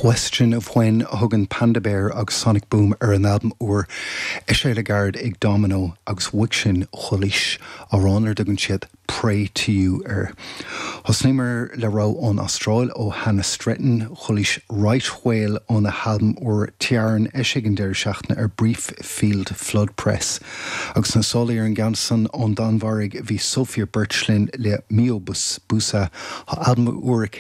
Question of When a thugann Panda Bear agus Sonic Boom ar a n-albam úr, eisithe le gairid ag Domino, agus uaidh sin chualaís amhrán ar a dtugann siad Pray to You air. Thosnaíomar le rogha ón Astráil ó Hannah Stretton, chualaís Right Whale óna halbam úr Tiarn, eisithe ag an deireadh seachtaine ar Brief Field Flood Press. Agus sna sála ar an gceann san ón Danmhairg bhí Sofia Birch linn le Mio Busa, tá albam úr aici.